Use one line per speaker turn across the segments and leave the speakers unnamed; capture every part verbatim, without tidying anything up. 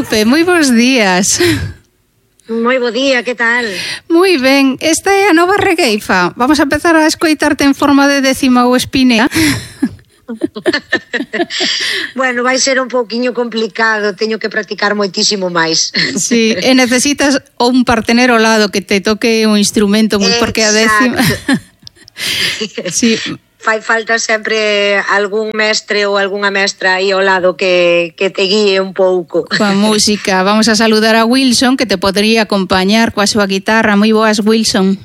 Lupe, moi bons días.
Moi bo día, que tal?
Moi ben, esta é a nova regueifa. Vamos a empezar a escoitarte en forma de décima ou espinea.
Bueno, vai ser un pouquiño complicado, teño que practicar moitísimo máis.
Sí, e necesitas un partener ao lado que te toque un instrumento, moi porque a décima... Sí.
Fai falta sempre algún mestre ou algunha mestra aí ao lado que, que te guíe un pouco.
Coa música. Vamos a saludar a Wilson, que te podría acompañar coa súa guitarra. Moi boas, Wilson.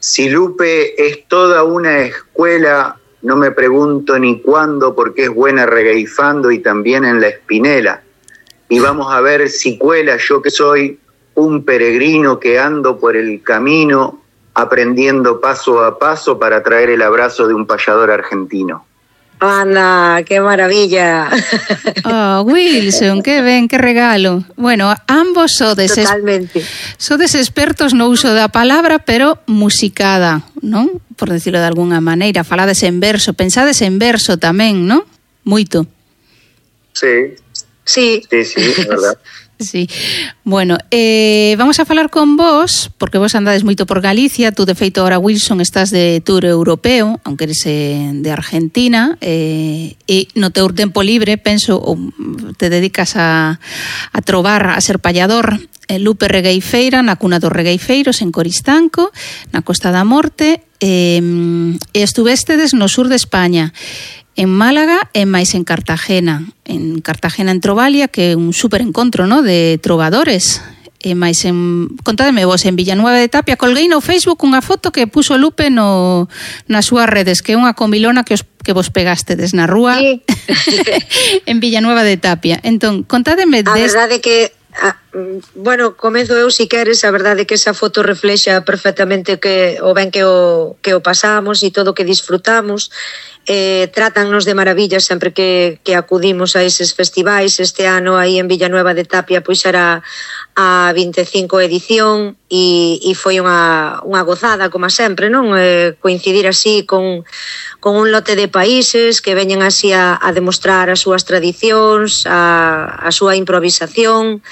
Si Lupe es toda una escuela, no me pregunto ni cuándo, porque es buena regueifando y también en la espinela. Y vamos a ver si cuela yo que soy un peregrino que ando por el camino, aprendiendo paso a paso para traer el abrazo de un payador argentino.
Anda, qué maravilla.
Oh, Wilson, que ben, que regalo. Bueno, ambos sodes,
Totalmente.
sodes expertos no uso da palabra, pero musicada, non? Por decirlo de alguna maneira, falades en verso, pensades en verso tamén, non? Moito.
Sí.
Sí.
Sí, sí, é verdad.
Sí, bueno, eh, vamos a falar con vos, porque vos andades moito por Galicia, tú de feito ahora, Wilson, estás de tour europeo, aunque eres eh, de Argentina, eh, e no teu tempo libre, penso, ou te dedicas a, a trobar, a ser payador, eh, Lupe Regueifeira, na cuna dos regueifeiros, en Coristanco, na Costa da Morte, eh, e estuvestedes no sur de España, en Málaga e máis en Cartagena. En Cartagena en Trovalia, que é un super encontro, ¿no?, de trovadores. E máis en... Contádeme vos, en Villanueva de Tapia. Colguei no Facebook unha foto que puso Lupe no, nas súas redes, que é unha comilona que, os, que vos pegastedes na rúa sí. En Villanueva de Tapia. Entón, contádeme...
A des... verdade que... Ah, bueno, comezo eu si queres, a verdade que esa foto reflexa perfectamente que o ben que o, que o pasamos e todo o que disfrutamos. Eh, trátannos de maravilla sempre que, que acudimos a eses festivais. Este ano aí en Villanueva de Tapia pois era a vinte e cinco edición e, e foi unha, unha gozada, como sempre, non? Eh, coincidir así con, con un lote de países que veñen así a, a demostrar as súas tradicións, a, a súa improvisación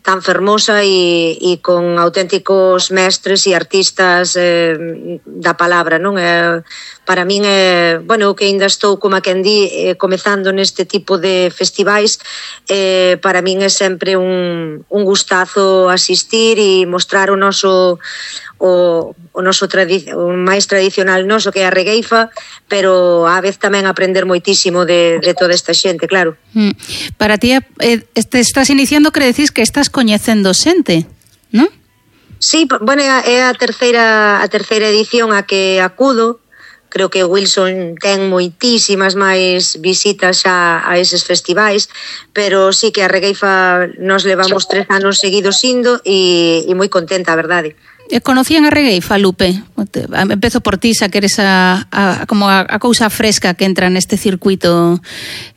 tan fermosa e, e con auténticos mestres e artistas eh, da palabra, non? Eh, para min é, bueno, que ainda estou, como a quen di, eh, comezando neste tipo de festivais, eh, para min é sempre un, un gustazo asistir e mostrar o noso o, o noso tradi- o máis tradicional noso, que é a regueifa, pero á vez tamén aprender moitísimo de, de toda esta xente, claro.
Mm. Para ti, eh, te estás iniciando, que decís que estás coñecendo xente, non?
Sí, bueno, é a terceira, a terceira edición a que acudo. Creo que Wilson ten moitísimas máis visitas xa a eses festivais, pero sí que a regueifa nos levamos tres anos seguidos indo e, e moi contenta, a verdade.
Conocían a regueifa, Lupe? Empezo por ti, xa que eres a, a, como a, a cousa fresca que entra neste circuito.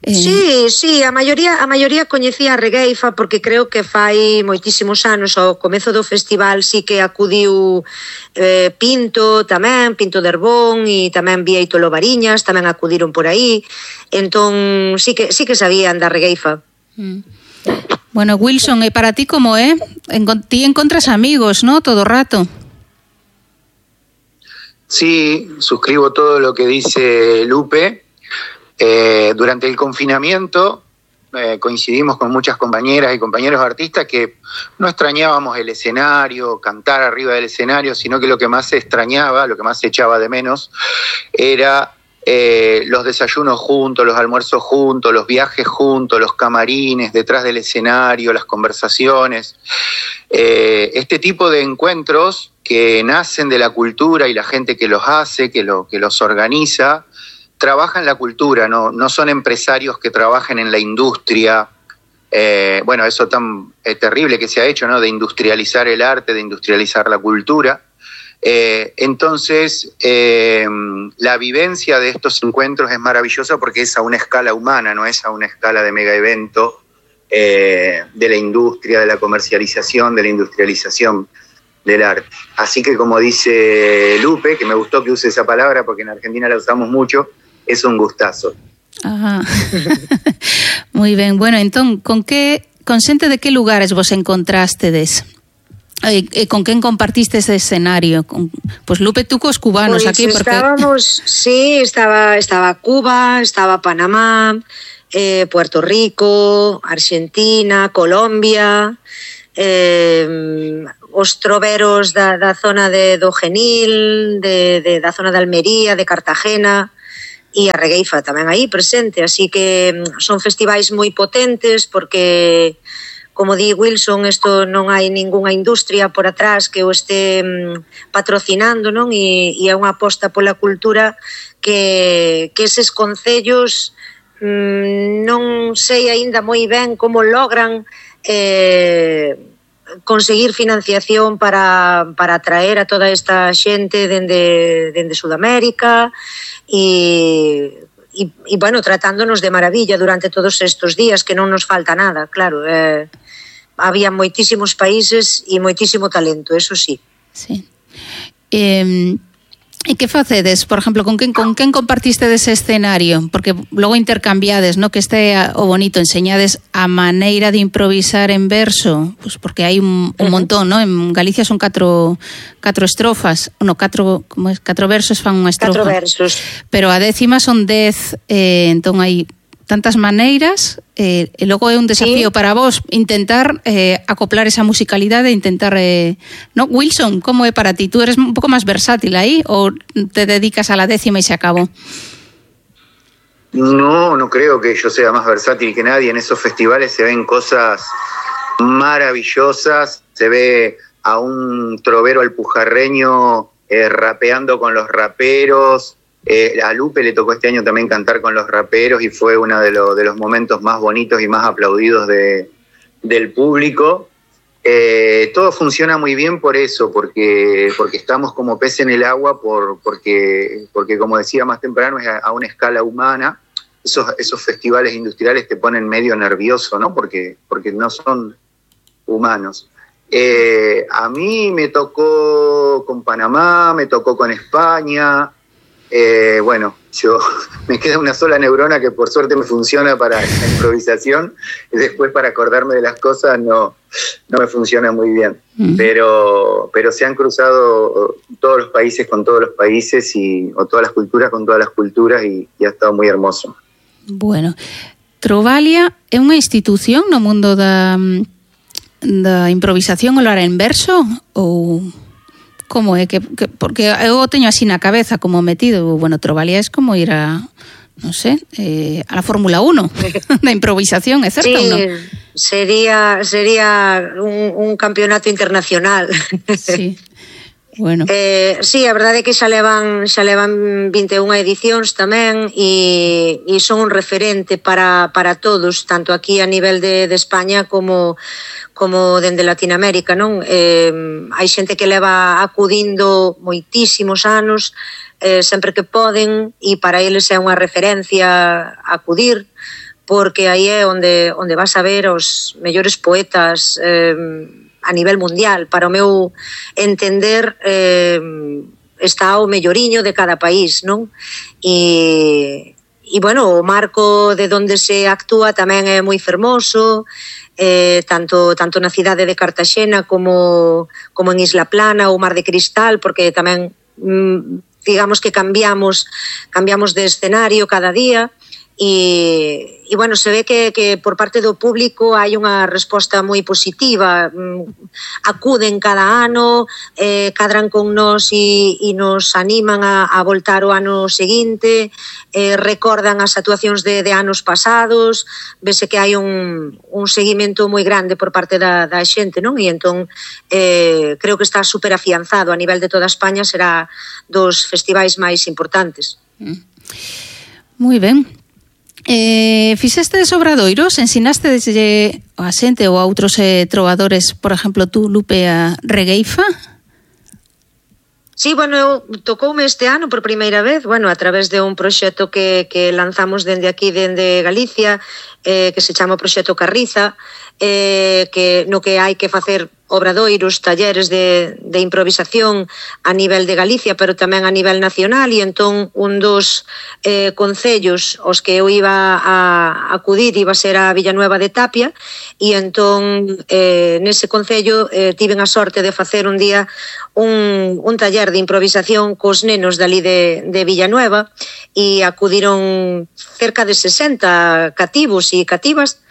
Eh...
Sí, sí, a maioría, a maioría coñecía a regueifa porque creo que fai moitísimos anos, ao comezo do festival sí que acudiu eh, Pinto tamén, Pinto de Herbón, e tamén Vieito Lobariñas, tamén acudiron por aí, entón sí que, sí que sabían da regueifa.
Mm. Bueno, Wilson, e para ti como é? Encont- ti encontras amigos, ¿no?, todo o rato.
Sí, suscribo todo lo que dice Lupe. Eh, durante el confinamiento eh, coincidimos con muchas compañeras y compañeros artistas que no extrañábamos el escenario, cantar arriba del escenario, sino que lo que más se extrañaba, lo que más se echaba de menos, era eh, los desayunos juntos, los almuerzos juntos, los viajes juntos, los camarines detrás del escenario, las conversaciones. Eh, este tipo de encuentros que nacen de la cultura y la gente que los hace, que, lo, que los organiza, trabajan la cultura, no, no son empresarios que trabajen en la industria. Eh, bueno, eso tan eh, terrible que se ha hecho, ¿no?, de industrializar el arte, de industrializar la cultura. Eh, entonces, eh, la vivencia de estos encuentros es maravillosa porque es a una escala humana, no es a una escala de mega evento eh, de la industria, de la comercialización, de la industrialización del arte. Así que, como dice Lupe, que me gustó que use esa palabra porque en Argentina la usamos mucho, es un gustazo.
Ah. Moi ben, bueno, entón, con que, con xente de que lugares vos encontrastedes? E, e con quen compartiste ese escenario? Con, pues Lupe, tú cos cubanos
pues
aquí, porque...
estábamos, sí, estaba, estaba Cuba, estaba Panamá, eh, Puerto Rico, Argentina, Colombia, eh, os troveros da, da zona de do Genil, de, de, da zona de Almería, de Cartagena, e a Regueifa tamén aí presente, así que son festivais moi potentes porque, como di Wilson, isto non hai ningunha industria por atrás que o este patrocinando, non? E, e é unha aposta pola cultura que, que eses concellos mmm, non sei aínda moi ben como logran eh, conseguir financiación para, para atraer a toda esta xente dende, dende Sudamérica e, e, e, bueno, tratándonos de maravilla durante todos estes días, que non nos falta nada, claro. Eh, había moitísimos países e moitísimo talento, eso sí.
Sí. Eh, e que facedes, por exemplo, con quen, con quen compartiste dese escenario? Porque logo intercambiades, no? Que este o bonito, enseñades a maneira de improvisar en verso, pues porque hai un, un montón, no? En Galicia son catro, catro estrofas, no, catro, como es, catro versos fan unha estrofa.
Catro versos.
Pero a décima son dez, eh, entón hai tantas maneiras, eh, e logo é un desafío, sí, para vos intentar eh, acoplar esa musicalidade, intentar... Eh, no, Wilson, como é para ti? Tú eres un pouco máis versátil aí ou te dedicas a la décima e se acabó?
No, no creo que yo sea más versátil que nadie. En esos festivales se ven cosas maravillosas, se ve a un trovero alpujarreño eh, rapeando con los raperos. Eh, a Lupe le tocó este año también cantar con los raperos y fue uno de, lo, de los momentos más bonitos y más aplaudidos de, del público. Eh, todo funciona muy bien por eso, porque, porque estamos como pez en el agua, por, porque, porque como decía más temprano, es a, a una escala humana. Esos, esos festivales industriales te ponen medio nervioso, ¿no? Porque, porque no son humanos. Eh, a mí me tocó con Panamá, me tocó con España. Eh, bueno, yo me queda una sola neurona que por suerte me funciona para la improvisación y después para acordarme de las cosas no, no me funciona muy bien. Mm. Pero, pero se han cruzado todos los países con todos los países y, o todas las culturas con todas las culturas y, y ha estado muy hermoso.
Bueno, Trovalia é unha institución no mundo da, da improvisación oral en verso ou... Como é que, que porque eu teño así na cabeza como metido, bueno, Trovalia es como ir a, non sé, eh, a la Fórmula uno da improvisación, é certo,
sí,
ou non?
sería sería un, un campeonato internacional.
Sí. Bueno.
Eh, sí, a verdade é que xa levan xa levan vinte e unha edicións tamén e, e son un referente para, para todos, tanto aquí a nivel de, de España como como dende Latinoamérica, non? Eh, hai xente que leva acudindo moitísimos anos, eh, sempre que poden, e para eles é unha referencia acudir, porque aí é onde, onde vas a ver os mellores poetas eh, a nivel mundial. Para o meu entender, eh, está o melloriño de cada país, non? E, e bueno, o marco de onde se actúa tamén é moi fermoso, Eh, tanto, tanto na cidade de Cartaxena como, como en Isla Plana ou Mar de Cristal, porque tamén mm, digamos que cambiamos cambiamos de escenario cada día e, e bueno, se ve que, que por parte do público hai unha resposta moi positiva, mm, acuden cada ano, eh, cadran con nós e, e nos animan a, a voltar o ano seguinte, eh, recordan as actuacións de, de anos pasados, vese que hai un, un seguimento moi grande por parte da, da xente, non? E entón eh, creo que está super afianzado a nivel de toda España, será dos festivais máis importantes.
Mm. Moi ben. Eh, fixestes obradoiros, ensinaste desde a xente ou a outros eh, trovadores, por exemplo, tú, Lupe, a Regueifa?
Sí, bueno, eu tocoume este ano por primeira vez, bueno, a través de un proxecto que, que lanzamos dende aquí, dende Galicia, eh, que se chama o Proxecto Carriza, eh, que no que hai que facer obradoiros, talleres de, de improvisación a nivel de Galicia, pero tamén a nivel nacional, e entón un dos eh, concellos aos que eu iba a acudir iba a ser a Villanueva de Tapia, e entón eh, nese concello eh, tiven a sorte de facer un día un, un taller de improvisación cos nenos dali de, de Villanueva, e acudiron cerca de sesenta cativos e cativas,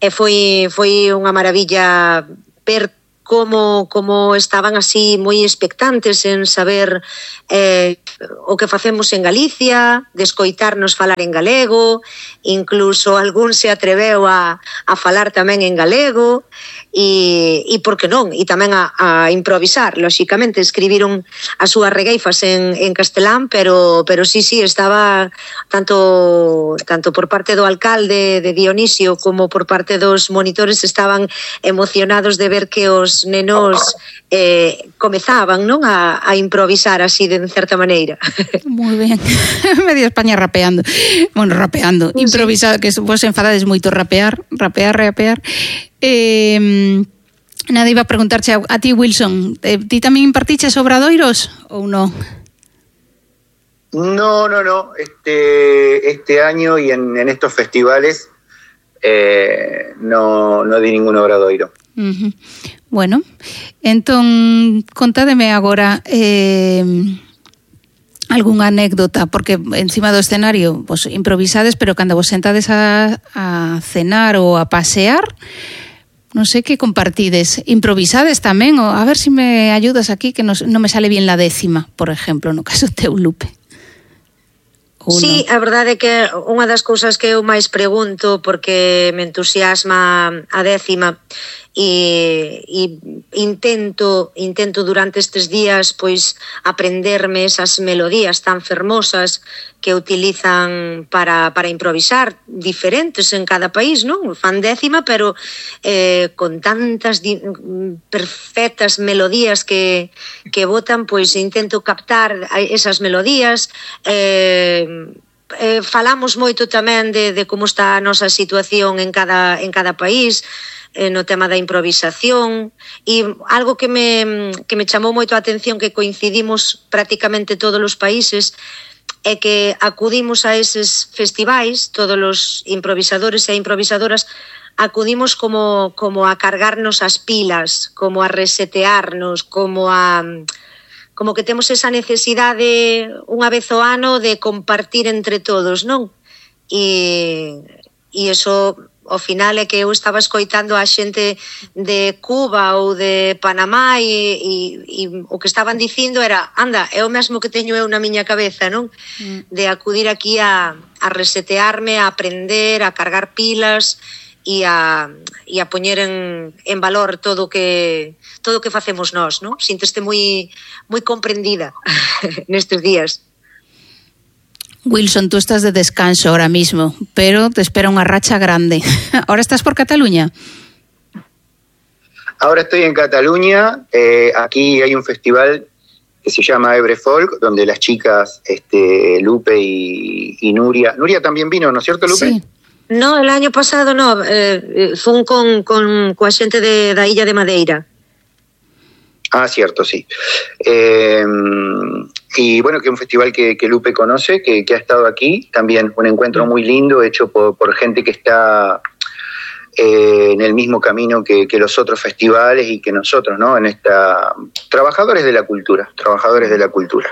e foi, foi unha maravilla ver como, como estaban así moi expectantes en saber eh, o que facemos en Galicia, de escoitarnos falar en galego, incluso algún se atreveu a, a falar tamén en galego, e, e por que non, e tamén a, a improvisar, lóxicamente escribiron as súas regueifas en, en castelán, pero, pero sí, sí, estaba tanto, tanto por parte do alcalde de Dionisio como por parte dos monitores estaban emocionados de ver que os nenos eh, comezaban, non, a, a improvisar así de certa maneira.
Moi ben. Medio España rapeando. Bueno, rapeando, sí. Improvisado, que vos enfadades moito rapear, rapear, rapear. Eh, nada, iba a preguntarche a, a ti, Wilson, eh, ti tamén impartiches obradoiros ou non?
No, no, no. Este, este año y en, en estos festivales eh, no, no di ningún obradoiro.
Uh-huh. Bueno, entón, contádeme agora eh, algunha anécdota, porque encima do escenario vos improvisades, pero cando vos sentades a, a cenar ou a pasear, non sei que compartides. Improvisades tamén, ou a ver se si me ayudas aquí, que non no me sale bien la décima, por exemplo, no caso teu, Lupe.
Sí, a verdade é que unha das cousas que eu máis pregunto, porque me entusiasma a décima, e, e intento intento durante estes días pois aprenderme esas melodías tan fermosas que utilizan para, para improvisar, diferentes en cada país, non? Fan décima, pero eh, con tantas di- perfectas melodías que, que botan, pois intento captar esas melodías. eh, eh, falamos moito tamén de, de como está a nosa situación en cada, en cada país, eh, no tema da improvisación, e algo que me, que me chamou moito a atención, que coincidimos prácticamente todos os países, é que acudimos a eses festivais, todos os improvisadores e improvisadoras acudimos como, como a cargarnos as pilas, como a resetearnos, como a... como que temos esa necesidade unha vez ao ano de compartir entre todos, non? E, e eso, ao final, é que eu estaba escoitando a xente de Cuba ou de Panamá e, e, e o que estaban dicindo era, anda, é o mesmo que teño eu na miña cabeza, non? Mm. De acudir aquí a, a resetearme, a aprender, a cargar pilas e a, e a poñer en, en valor todo o que todo o que facemos nós, non? Sínteste moi moi comprendida nestes días.
Wilson, tú estás de descanso ahora mismo, pero te espera unha racha grande. ¿Ahora estás por Cataluña?
Ahora estoy en Cataluña. Eh, aquí hay un festival que se llama Ebre Folk, donde las chicas este, Lupe y, y Nuria... Nuria también vino, ¿no es cierto, Lupe?
Sí. No, el año pasado no, eh, fue con, con, con xente de, da Illa de Madeira.
Ah, cierto, sí. Eh, y bueno, que es un festival que, que Lupe conoce, que, que ha estado aquí, también un encuentro muy lindo, hecho por, por gente que está eh, en el mismo camino que, que los otros festivales y que nosotros, ¿no? En esta... Trabajadores de la cultura, trabajadores de la cultura.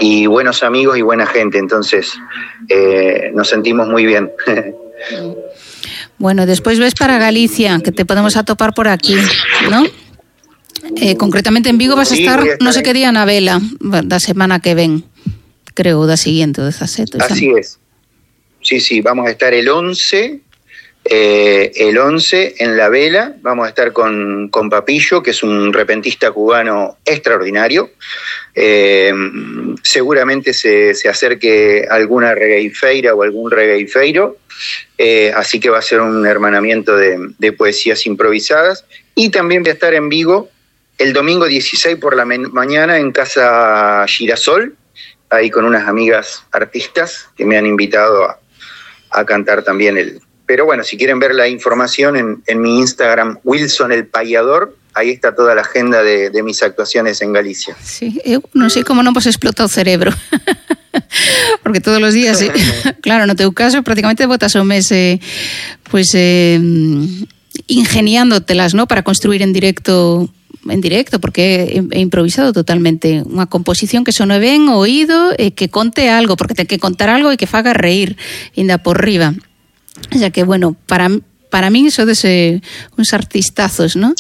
Y buenos amigos y buena gente, entonces eh, nos sentimos muy bien.
Bueno, despois ves para Galicia, que te podemos atopar por aquí, ¿no? Eh, concretamente en Vigo vas a estar, sí, a estar no sé qué día na vela da semana que ven, creo, da siguiente, o dezasete.
Así es. Sí, sí, vamos a estar el once, eh, el once en la vela, vamos a estar con, con Papillo, que es un repentista cubano extraordinario. Eh, seguramente se, se acerque alguna regueifeira o algún regueifeiro, eh, así que va a ser un hermanamiento de, de poesías improvisadas. Y también voy a estar en Vigo el domingo dieciséis por la mañana en Casa Girasol, ahí con unas amigas artistas que me han invitado a, a cantar también. El. Pero bueno, si quieren ver la información en, en mi Instagram, Wilson el Payador, ahí está toda la agenda de, de mis actuaciones en Galicia.
Sí, eu non sei como non vos explota o cerebro. Porque todos os días, eh, claro, no teu caso prácticamente botas o mes eh, pues, eh, ingeniándotelas, ¿no? Para construir en directo en directo, porque é improvisado totalmente, unha composición que sone ben o oído e que conte algo, porque ten que contar algo e que faga reír ainda por riba. O sea que, bueno, para para min sodes eh, uns artistazos, ¿no?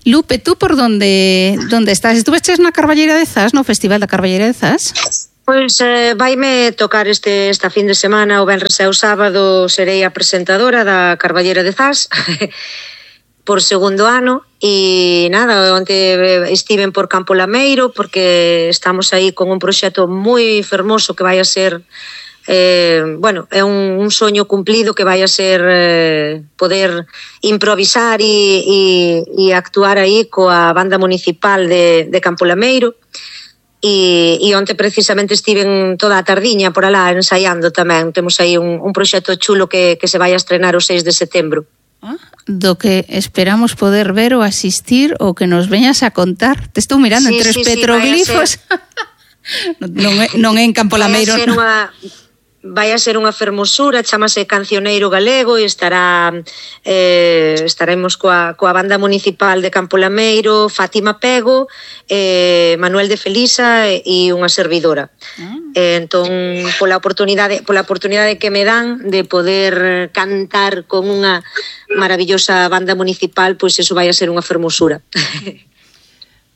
Lupe, tú por donde donde estás? Estuveches na Carballeira de Zas, no Festival da Carballeira de Zas?
Pois eh, vaime tocar este esta fin de semana, o venres e o sábado serei a presentadora da Carballeira de Zas por segundo ano e nada, onte estiven por Campo Lameiro porque estamos aí con un proxecto moi fermoso que vai a ser eh, bueno, é un, un soño cumplido que vai a ser eh, poder improvisar e, e, e actuar aí coa banda municipal de, de Campo Lameiro. E, e onte precisamente estiven toda a tardiña por alá ensaiando tamén. Temos aí un, un proxecto chulo que, que se vai a estrenar o seis de setembro.
Ah, do que esperamos poder ver ou asistir ou que nos veñas a contar. Te estou mirando
sí,
entre os
sí,
petroglifos. Sí, non, é, non é en Campo Lameiro.
Vai a ser unha... vai a ser unha fermosura, chamase Cancioneiro Galego e estará eh, estaremos coa, coa banda municipal de Campo Lameiro, Fátima Pego, eh, Manuel de Felisa e, e unha servidora. Ah. Eh, entón, pola oportunidade, pola oportunidade que me dan de poder cantar con unha maravillosa banda municipal, pois eso vai a ser unha fermosura.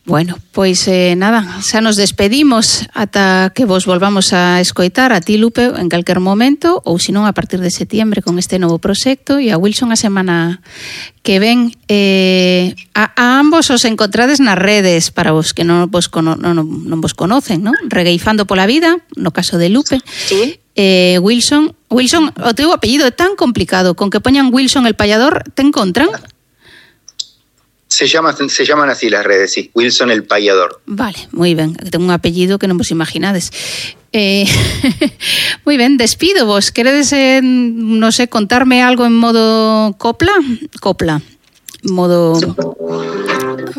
Bueno, pois eh, nada, xa nos despedimos ata que vos volvamos a escoitar a ti, Lupe, en calquer momento, ou senón a partir de setiembre con este novo proxecto, e a Wilson a semana que ven. Eh, a, a ambos os encontrades nas redes, para vos que non vos, cono, non, non vos conocen, ¿no? Regueifando pola vida, no caso de Lupe.
Sí.
Eh, Wilson, Wilson, o teu apellido é tan complicado, con que poñan Wilson el payador, te encontran?
Se, llama, se llaman así las redes, sí. Wilson el Payador.
Vale, moi ben. Tengo un apellido que non vos imaginades. Eh, moi ben, despido vos. Queredes, eh, non sei, contarme algo en modo copla? Copla. Modo...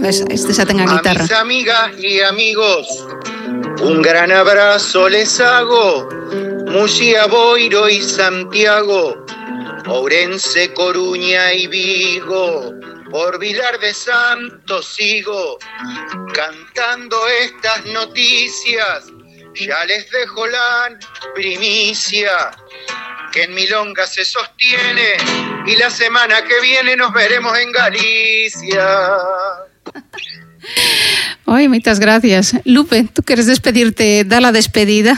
Este xa ten a guitarra.
A mis amigas y amigos, un gran abrazo les hago. Muxía, Boiro y Santiago, Ourense, Coruña y Vigo. Por Vilar de Santos sigo cantando estas noticias. Ya les dejo la primicia que en Milonga se sostiene y la semana que viene nos veremos en Galicia.
Oi, moitas gracias. Lupe, tú queres despedirte, da la despedida.